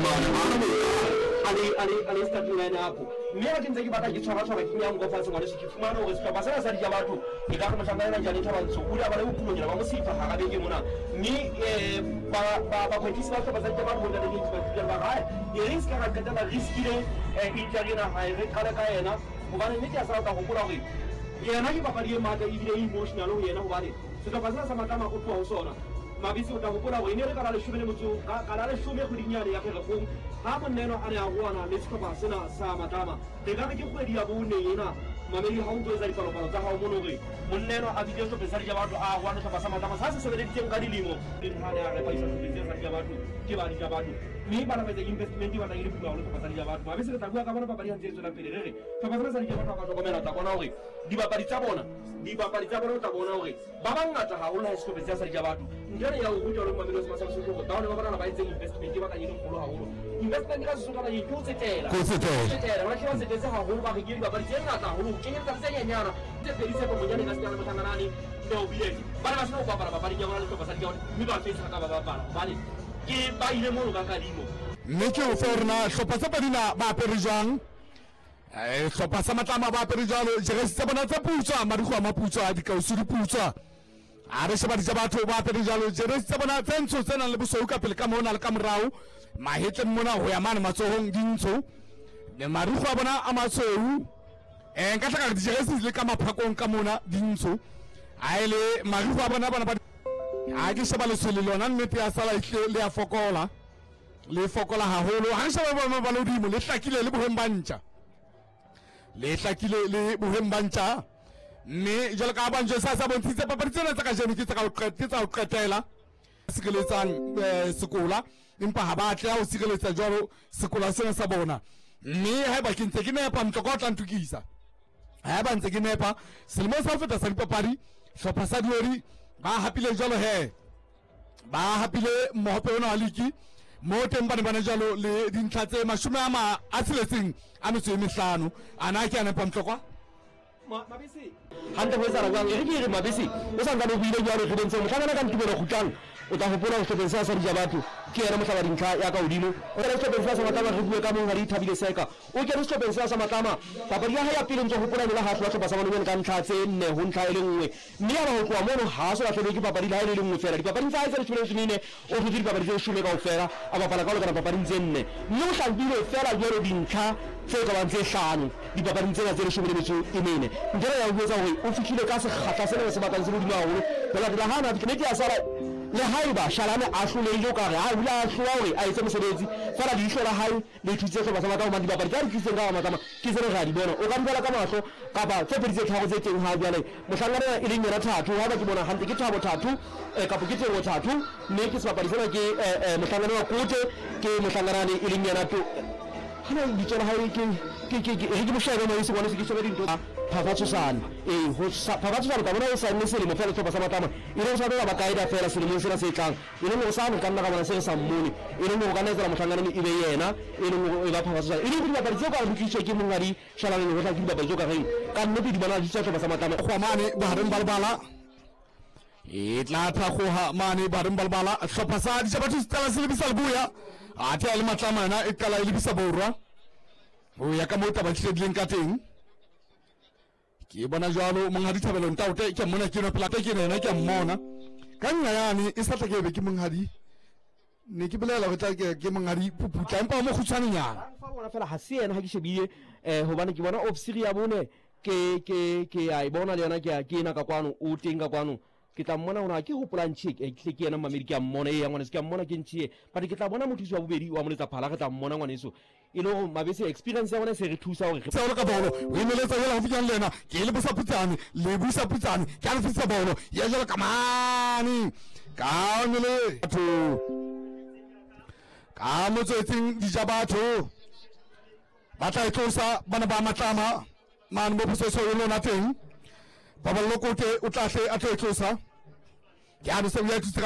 mane ha ana a le a le a le starting line up. Mme ha ke ntse ke batla ke tshwara tshwara ke nyango fatshe ngwaneso, ke fumane hore sehlopha sena sa Dija Batho e ka re mohlanka ena Jane Thabantsho o ile a ba le bokulonyana ba mosifa hara beke mona. Mme ba ba bakwetlisi ba sehlopha sa Dija Batho bo ntate James Mathibela ba re e re se ka ra qetella re riskile injury ena hae, re qale ka yena hobane nnete ya sala o tla hopola hore yena ke papadi e matla ebile e emotional ho yena hobane sehlopha sena sa Matlama o tloha ho sona. Mabitsi o tla hopola hore e ne e le ka la leshome le motso ka la leshome kgweding yane ya Pherekgong ha monna enwa a ne a roana le sehlopha sena sa Matlama. Re ka re ke kgwedi ya bone ena mamedi ha o ntso etsa dipalopalo tsa hao mono hore monna enwa a bitse sehlopheng sa Dijabatho a roane sehlopha sa Matlama sa se sebeleditseng ka dilemo. Ha ne a repa isa sehlopheng sena sa Dijabatho ke ba Dijabatho mme ba lapetsa investment e batlang e le boima haholo sehlopha sa Dijabatho. Mabese re tla bua ka bona papadi ha ntse e tswela pele re re sehlopha sena sa Dijabatho ha ka hlokomela o tla bona hore dibapadi tsa bona dibapadi tsa bona o tla bona hore Ba bangata haholo ha e sehlopheng sa Dija Batho. Ntho ena ya ho ruta le mamelo se sa Sesotho hore bao ba bona ba etseng investment e batlang e le kgolo haholo. Investment ka Sesotho ba ke ho tsetela. Ho tsetela. Tsetela. Ba hle ba tsetetse haholo ba rekile dibapadi tse ngata haholo ho kenyeletsa le tse nyenyana. Tse pedi Tshepo Monyane ka setana Mohlanganane le Obilete. Ba ne ba sena ho bapala papading ya bona le sehlopha sa Dija Batho mme ba fetsa ka ba bapala hobane ke ba ile mono ka kadimo. Mme ke o fe hore na hlopha tse pedi na ba apere jwang. Eh, hlopha sa Matlama ba apere jwalo jeresi tsa bona tse putswa, marikgwe a maputswa, dikausu di putswa. A re sheba Dija Batho ba apere jwalo jeresi tsa bona tse ntsho tse nang le bosweu ka pele ka mona le ka morao, mahetleng mona ho ya mane matsohong di ntsho, le marikgwe a bona a matshweu. Eh, nka tla ka re dijeresi le ka maphakong ka mona di ntsho, a e le marikgwe a bona bona ba a ke sheba letshwele lona nnete ya sala ehlile le ya fokola, le fokola haholo. Ha re sheba boemo ba lehodimo, le hlakile le boheng ba ntja, le hlakile le boheng ba ntja. Mme jwalo ka banjo sa sa bontshitse papadi tsena tsa kajeno ke tsa ho ke tsa ho qetela sireletsang sekola, empa ha ba atleha ho sireletsa jwalo sekola sena sa bona. Mme haeba ke ntse ke nepa, Mtloko o tla ntukisa haeba ntse ke nepa. Selemong sa ho feta sa dipapadi hlopha sa Diori ba hapile jwalo he ba hapile mohope ona wa liki mo teng ba ne ba ne jalo le dintlha tse mashome a ma a tsheletseng a metso e mehlano. A na ke a nepa, Mtlokwa? Mabese hantle ho etsahala jwang? E re ke re Mabese o sa ntsane o buile jwalo re bontshe mohlankana ka Ntumelo Kgutlang o tla hopola ho sehlopheng sena sa Dija Batho ke yena mohlaba dintlha ya ka hodimo. O kene sehlopheng sena sa Matlama re bue ka monghadi Thabile Seka o kene sehlopheng sena sa Matlama papadi ya hae ya pele ntso hopola e ne le ha hlola sehlopha sa Manonyane ka ntlha tse nne ho ntlha e le nngwe. Mme yaba ho tloha mono ha a so lahlehelwe ke papadi le ha e le le nngwe feela. Dipapading tsa hae tse leshome le metso e mene, o hlotse dipapadi tse leshome kaofela, a bapala ka ho lekana papading tse nne. Mme o hlapile feela jwalo dintlha tse ka bang tse hlano dipapading tsena tse leshome le metso e mene. Ntho ena ya ho etsa hore o fihlile ka sekgahla sena se batlang se le hodimo haholo ho latela ha a ne a fihla. Nnete ya sala le haeba Shalane a hlolehile o ka re a hula a hlola hore a etse mosebetsi, feela leihlo la hae le thusitse sehlopha sa Matlama hobane dibapadi tsa di tlisitseng ka hara Matlama ke tsena re a di bona. O ka di bala ka mahlo kapa tse pedi tse tharo tse teng ha jwale. Mohlankana ena e leng yena Thato, haeba ke bona hantle ke Thabo Thato kapa ke Teboho Thato, mme ke sebapadi sena ke mohlankana wa Kote, ke mohlankana e leng yena to hana lebitso la hae ke ke ke ke re ke mo shebe mo ise ngwane se ke shebe dintho Phapha Tshosane. Ee, ho Phapha Tshosane ka bona o saenne selemo feela sehlopha sa Matlama e leng sa tlo ba kaeda feela selemong sena se tlang. E leng hore sane re ka nna ra bona se re sa mmone, e leng hore o ka nna etsela mohlankana e be yena, e leng hore e ba Phapha Tshosane. E leng hore dibapadi tseo ka re di tlisitswe ke monghadi Shalane Lehohla ke dibapadi tseo ka reng ka nnete di bona di tswa sehlopha sa Matlama. Goa mane bohareng ba lebala, e tla thakgoha mane bohareng ba lebala. Hlopha sa Dijabatho se qala se lebisa leboya, athe a le Matlama yona e qala e lebisa borwa ho ya ka moo taba di hledileng ka teng. Ke bona jwalo monghadi Thabelo Ntaote ke mmona ke no pela ke yena ke mmona ka nna yane e sa tla ke be ke monghadi ne ke bolela go tla ke monghadi Puputla empa o mo kgutshwanenyana. Fa bona fela ha se yena ha ke shebile hobane ke bona ofisiri ya bone ke ke ke a e bona le yona ke ke ena ka kwano o teng ka kwano ke tla mmona hona ke hopola ntšhe ke tle ke yena mmamedi ke a mmona ee ngwaneso ke a mmona ke ntšhe but ke tla bona mothusi wa bobedi wa moletsa phala re tla mmona ngwaneso e le gore Mabese experience ya bona e se re thusa gore Seolo ka bolo o emeletsa jalo gaufinyane le yena ke le busa putsane le busa putsane ke a le fetisa bolo ya jalo ka mane ka mele batho ka motswetsing dija batho ba tla e tlosa bana ba Matlama mane mo phoso e lona teng Paballo Kote o tla hle a tlo e tlosa ke a se o ya thutse ka